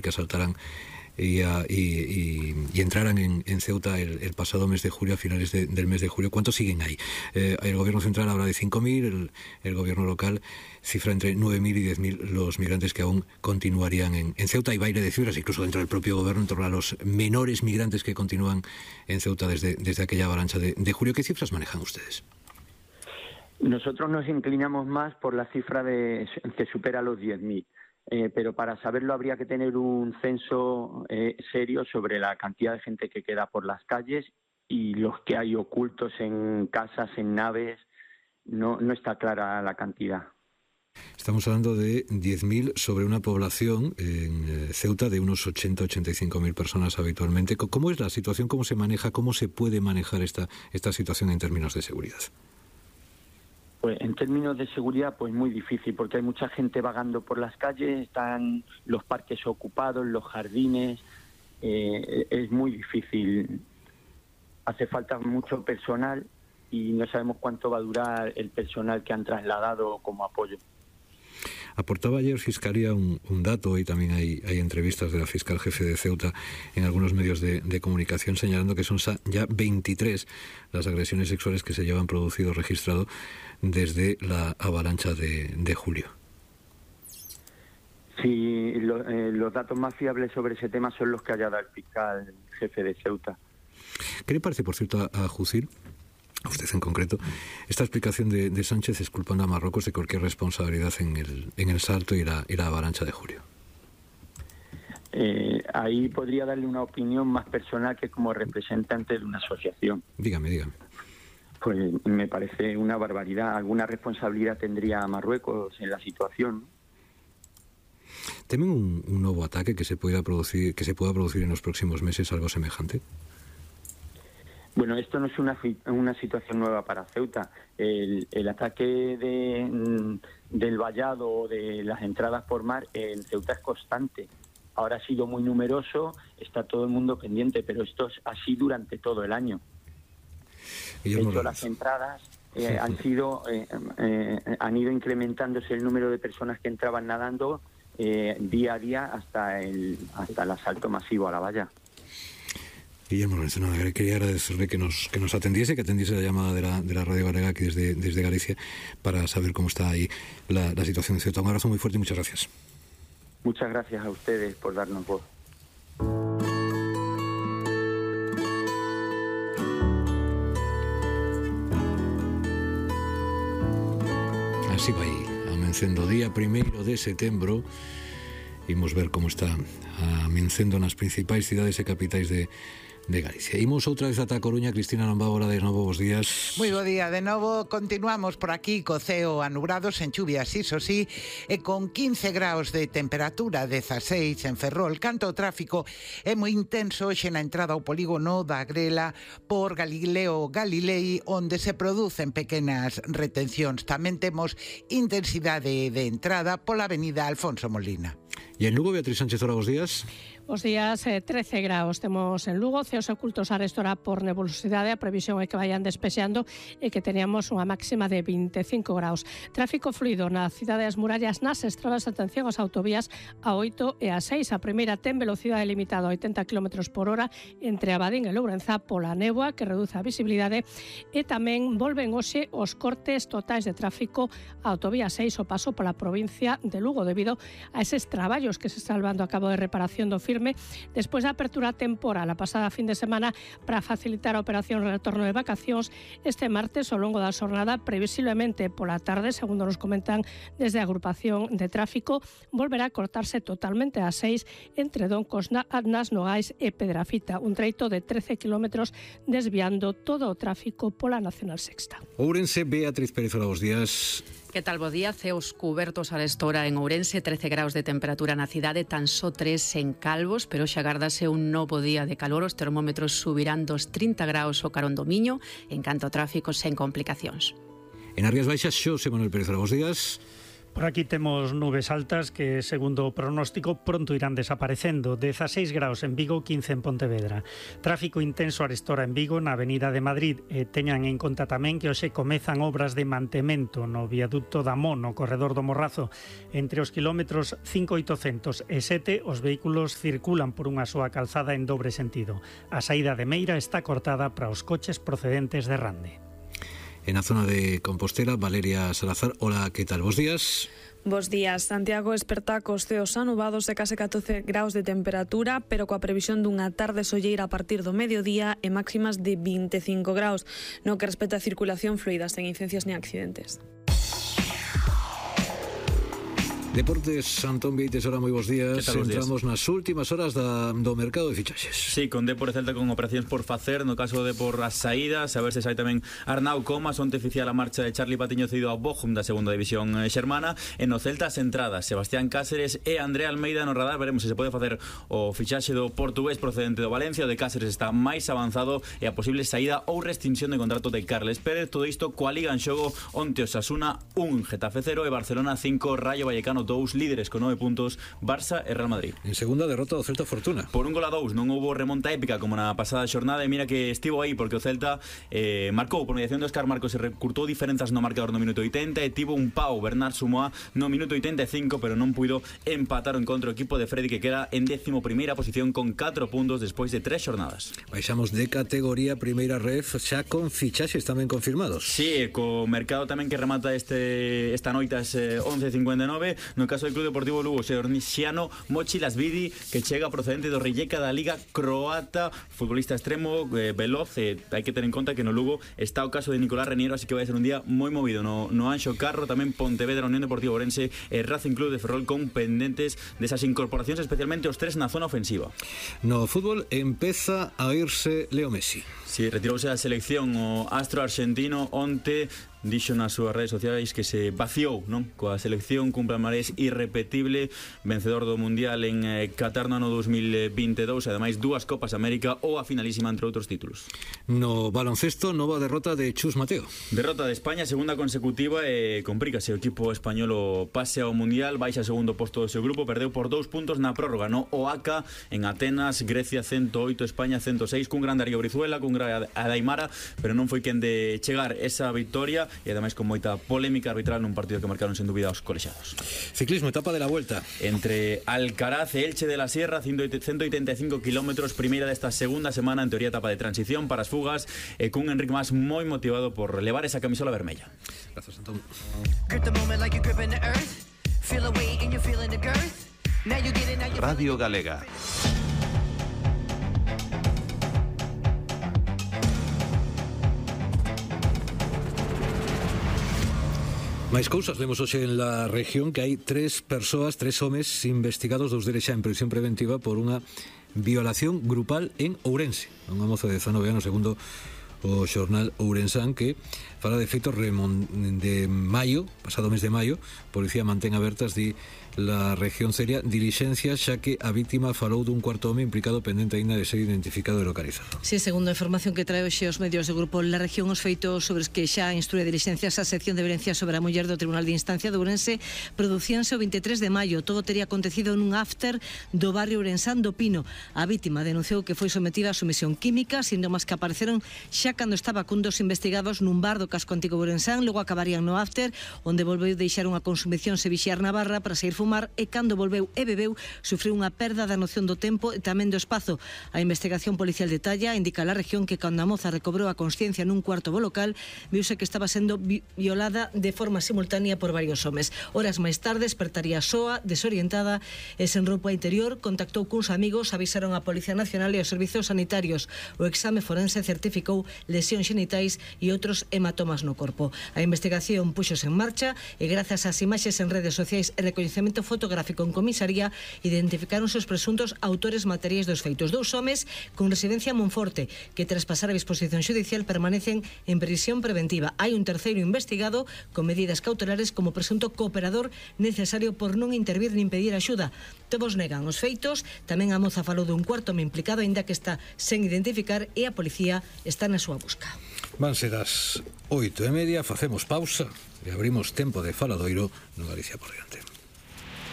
que asaltaran y entraran en Ceuta el pasado mes de julio, a finales del mes de julio. ¿Cuántos siguen ahí? El gobierno central habla de 5.000, el gobierno local cifra entre 9.000 y 10.000 los migrantes que aún continuarían en Ceuta. Hay baile de cifras, incluso dentro del propio gobierno, en torno a los menores migrantes que continúan en Ceuta desde aquella avalancha de julio. ¿Qué cifras manejan ustedes? Nosotros nos inclinamos más por la cifra que supera los 10.000. Pero para saberlo habría que tener un censo serio sobre la cantidad de gente que queda por las calles y los que hay ocultos en casas, en naves. No está clara la cantidad. Estamos hablando de 10.000 sobre una población en Ceuta de unos 80-85.000 personas habitualmente. ¿Cómo es la situación? ¿Cómo se maneja? ¿Cómo se puede manejar esta situación en términos de seguridad? Pues en términos de seguridad, pues muy difícil, porque hay mucha gente vagando por las calles, están los parques ocupados, los jardines, es muy difícil. Hace falta mucho personal y no sabemos cuánto va a durar el personal que han trasladado como apoyo. Aportaba ayer Fiscalía un dato, y también hay entrevistas de la fiscal jefe de Ceuta en algunos medios de comunicación, señalando que son ya 23 las agresiones sexuales que se llevan producido registrado desde la avalancha de julio. Sí, los datos más fiables sobre ese tema son los que haya dado el fiscal jefe de Ceuta. ¿Qué le parece, por cierto, a Jusir, a usted en concreto, esta explicación de Sánchez exculpando a Marruecos de cualquier responsabilidad en el salto y la avalancha de julio? Ahí podría darle una opinión más personal que como representante de una asociación. Dígame. Pues me parece una barbaridad. ¿Alguna responsabilidad tendría Marruecos en la situación? ¿Temen un nuevo ataque que se pueda producir en los próximos meses, algo semejante? Bueno, esto no es una situación nueva para Ceuta. El ataque del vallado o de las entradas por mar en Ceuta es constante. Ahora ha sido muy numeroso, está todo el mundo pendiente, pero esto es así durante todo el año. De hecho, las entradas han ido incrementándose el número de personas que entraban nadando día a día hasta el asalto masivo a la valla. Guillermo Lorenzo, quería agradecerle que nos atendiese, que atendiese la llamada de la Radio Galega aquí desde Galicia para saber cómo está ahí la situación en Ceuta. Un abrazo muy fuerte y muchas gracias. Muchas gracias a ustedes por darnos voz. Así vai, amencendo día 1 de setembro. Imos ver como está amencendo nas principais cidades e capitais de Galicia. Imos outra vez ata a Coruña. Cristina Lombábora, de novo, bos días. Moi bo día, de novo. Continuamos por aquí co ceo anubrado, sen chuvias, iso sí, e con 15 graus de temperatura, 16 en Ferrol. Canto o tráfico é moi intenso hoxe na entrada ao polígono da Grela por Galileo Galilei, onde se producen pequenas retencións. Tamén temos intensidade de entrada pola avenida Alfonso Molina. E en Lugo, Beatriz Sánchez, ora, bos días. Os días 13 graus temos en Lugo, ceos ocultos a restora por nebulosidade, a previsión é que vayan despexando e que teníamos unha máxima de 25 graus. Tráfico fluido na cidade das murallas, nas estradas, atención ás autovías a 8 e a 6. A primeira ten velocidade limitada a 80 km por hora entre Abadín e Lourenzá pola néboa que reduce a visibilidade, e tamén volven hoxe os cortes totais de tráfico a autovía 6 o paso pola provincia de Lugo debido a eses traballos que se está levando a cabo de reparación do firme despois da apertura temporal a pasada fin de semana para facilitar a operación de retorno de vacacións. Este martes, ao longo da xornada, previsiblemente pola tarde, segundo nos comentan desde a agrupación de tráfico, volverá a cortarse totalmente a 6 entre Doncos, nas Nogais e Pedrafita, un treito de 13 kilómetros desviando todo o tráfico pola Nacional Sexta. Ourense, Beatriz Pérez, bos días. Que tal, bo día? Ceos cubertos a estora en Ourense, 13 graus de temperatura na cidade, tan só 3 en Calvos, pero xa agárdase un novo día de calor, os termómetros subirán dos 30 graus o carón do Miño, en canto a tráfico sen complicacións. En Rías Baixas, Xosé Manuel Pérez, bos días. Por aquí temos nubes altas que, segundo o pronóstico, pronto irán desaparecendo. 16 graus en Vigo, 15 en Pontevedra. Tráfico intenso arestora en Vigo, na Avenida de Madrid. Teñan en conta tamén que hoxe comezan obras de mantemento no viaducto da Mo, no corredor do Morrazo. Entre os kilómetros 5.800 e 7, os vehículos circulan por unha soa calzada en dobre sentido. A saída de Meira está cortada para os coches procedentes de Rande. En la zona de Compostela, Valeria Salazar. Hola, ¿qué tal? Bos días. Bos días. Santiago esperta cos ceos anubados e case 14 graus de temperatura, pero coa previsión dunha tarde solleira a partir do mediodía e máximas de 25 graus, no que respecta a circulación fluida, sen incidencias ni accidentes. Deportes, Antón Vieites, hola, moi bons días. Entramos nas últimas horas do mercado de fichaxes. Sí, con Depor e Celta con operacións por facer. No caso de Depor as saídas, a ver se sai tamén Arnau Comas, onte oficial a marcha de Charlie Patiño cedido ao Bochum da segunda división xermana. En o Celta as entradas, Sebastián Cáceres e André Almeida no radar. Veremos se pode facer o fichaxe do portugués procedente do Valencia. O de Cáceres está máis avanzado e a posible saída ou restricción de contrato de Carles Pérez. Todo isto coa Liga en xogo, onte Osasuna 1, Getafe 0 e Barcelona 5, Rayo Vallecano 2, líderes con 9 puntos, Barça e Real Madrid. En segunda derrota do Celta Fortuna. Por 1-2, non houbo remonta épica como na pasada xornada, e mira que estivo aí porque o Celta marcou por mediación de Óscar Marcos e recurtou diferenzas no marcador no minuto 80 e tivo un pau Bernard Sumoa no minuto 85, pero non puido empatar o encontro o equipo de Freddy, que queda en 11ª posición con 4 puntos despois de 3 xornadas. Baixamos de categoría, primeira ref, xa con fichaxes tamén confirmados. Sí, co mercado tamén que remata esta noite ás 11:59. No caso do Club Deportivo Lugo, Seorniciano Mochi Lasvidi, que chega procedente do Rijeka da Liga Croata, futbolista extremo, veloz. Hai que ter en conta que no Lugo está o caso de Nicolás Reniero, así que vai ser un día moi movido no Anxo Carro. Tamén Pontevedra, Unión Deportiva Ourense e Racing Club de Ferrol con pendentes desas incorporacións, especialmente os tres na zona ofensiva. No fútbol empeza a irse Leo Messi. Si, retirouse a selección o astro argentino onte. Dixo nas súas redes sociais que se vaciou, non? Coa selección, cumple palmarés irrepetible, vencedor do Mundial en Qatar no ano 2022, e ademais 2 Copas América ou a finalísima, entre outros títulos. No baloncesto, nova derrota de Chus Mateo. Derrota de España, segunda consecutiva, e complícase o equipo español o pase ao Mundial, baixa segundo posto do seu grupo, perdeu por 2 puntos na prórroga no OACA en Atenas, Grecia 108, España 106, cun gran Darío Brizuela, cun gran Adaimara, pero non foi quen de chegar esa victoria, e ademais con moita polémica arbitral nun partido que marcaron sen dúbida os colexiados. Ciclismo, etapa de la Vuelta. Entre Alcaraz e Elche de la Sierra, 185 kilómetros, primeira desta segunda semana, en teoría etapa de transición para as fugas, e cun Enric Mas moi motivado por levar esa camisola vermella. Grazas, Antón. Radio Galega. Máis cousas, vemos hoxe en la región que hai 3 homes investigados, 2 deles xa en prisión preventiva por unha violación grupal en Ourense. Unha moza de 19 anos, segundo o xornal Ourensán, que fala de feitos de maio, pasado mes de maio. Policía mantén abertas la región seria dilixencias, xa que a víctima falou dun cuarto home implicado pendente aínda de ser identificado e localizado. Sí, segundo a información que trae hoxe os medios do grupo La Región, os feitos sobre os que xa instrue dilixencias a sección de violencia sobre a muller do Tribunal de Instancia de Ourense producíanse o 23 de maio. Todo tería acontecido nun after do barrio Ourensán do Pino. A víctima denunciou que foi sometida a sumisión química, síntomas que apareceron xa cando estaba cun dos investigados nun bar do casco antigo de Ourensán. Logo acabarían no after, onde volveu deixar unha consumición se vixiar na barra para sair fumar, e cando volveu e bebeu sufriu unha perda da noción do tempo e tamén do espazo. A investigación policial de Talla indica a La Región que cando a moza recobrou a consciencia nun cuarto do local, viuse que estaba sendo violada de forma simultánea por varios homes. Horas máis tarde despertaría soa, desorientada e sen roupa interior. Contactou cuns amigos, avisaron a Policía Nacional e os servizos sanitarios. O exame forense certificou lesións xenitais e outros hematomas no corpo. A investigación puxose en marcha e grazas ás imaxes en redes sociais e recoñecemento fotográfico en comisaría identificaronse os presuntos autores materiais dos feitos. 2 homes con residencia en Monforte que tras pasar a disposición xudicial permanecen en prisión preventiva. Hai un terceiro investigado con medidas cautelares como presunto cooperador necesario por non intervir nin pedir axuda. Todos negan os feitos. Tamén a moza falou dun cuarto home implicado, aínda que está sen identificar, e a policía está na súa busca. Van ser as 8:30, facemos pausa e abrimos tempo de faladoiro no Galicia por diante.